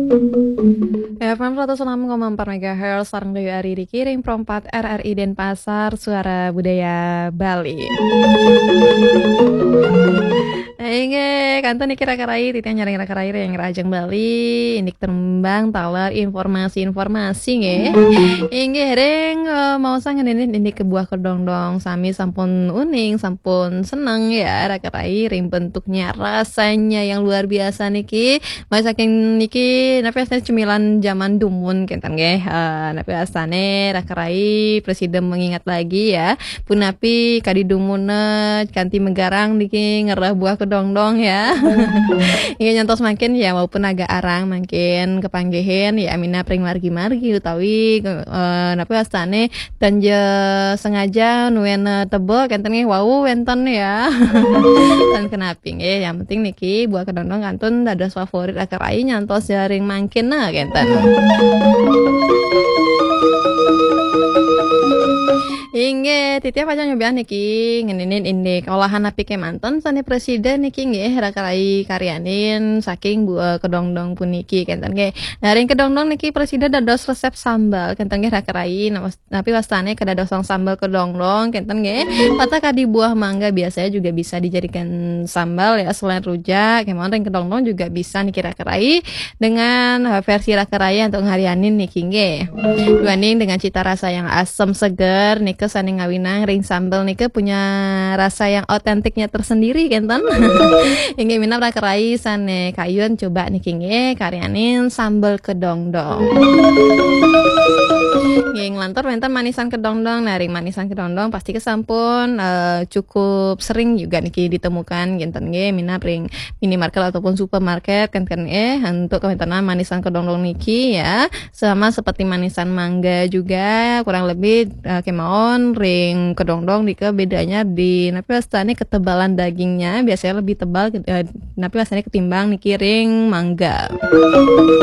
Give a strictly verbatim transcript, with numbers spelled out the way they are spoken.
F M seratus enam koma empat megahertz, sareng Dayu Ari di Kiring Perempat R R I Denpasar, Suara Budaya Bali. Inggih, kantun niki Raka Rai, titiang nyarengin Raka Rai ring Rahajeng Bali, indik tembang taler informasi-informasi nggih. Inggih, ring, eh, maosang ngenénin indik buah kedondong, sami sampun uning, sampun seneng ya, Raka Rai, ring bentuknya, rasanya yang luar biasa niki. Mulai saking niki, napi asané cemilan zaman dumun kénten nggih. Eh, napi asané Raka Rai prasida mengingat lagi ya. Punapi kadi dumunné kanti megarang niki ngereh buah kedondong ya. Inggih nyantos mangkin ya, walaupun agak arang mangkin kapanggihin ya minab ring margi-margi utawi, eh, napi asané tanja sengaja nuén, eh, teba kénten nggih wau wénten ya. Ten kenapi nggih, yang penting niki buah kedondong kantun dados favorit Raka Rai nyantos jaring mangkin nah kénten. Inggih, titiang pacang nyobiahang niki ngenénin indik olahan napi kémanten sané prasida niki nggih Raka Rai karyanin saking buah kedondong puniki kénten nggih. Nah, ring kedondong niki prasida dados resep sambal kénten nggih Raka Rai. Nah, napi wastané kadadosang sambal kedondong kénten nggih. Patah kadi buah mangga biasanya juga bisa dijadikan sambal ya, selain rujak, kémawon ring kedondong juga bisa niki Raka Rai dengan, eh, versi Raka Rai untuk ngarianin niki nggih. Duaning dengan cita rasa yang asem seger nika sané ngawinang ring sambal nika punya rasa yang otentiknya tersendiri kénten. Inggih minab Raka Rai sané kayun coba niki nggih karyanin sambal kedondong. Nggih, nglantur wénten manisan kedondong. Nah, ring manisan kedondong pasti kesampun, eh, cukup sering juga niki ditemukan kénten nggih, minab ring minimarket ataupun supermarket kénten nggih, untuk kawéntenan manisan kedondong niki ya. Sama seperti manisan mangga juga, kurang lebih, eh, kémawon ring kedondong nika bedanya di napi wastané ketebalan dagingnya biasanya lebih tebal, eh, napi wastané ketimbang niki ring mangga.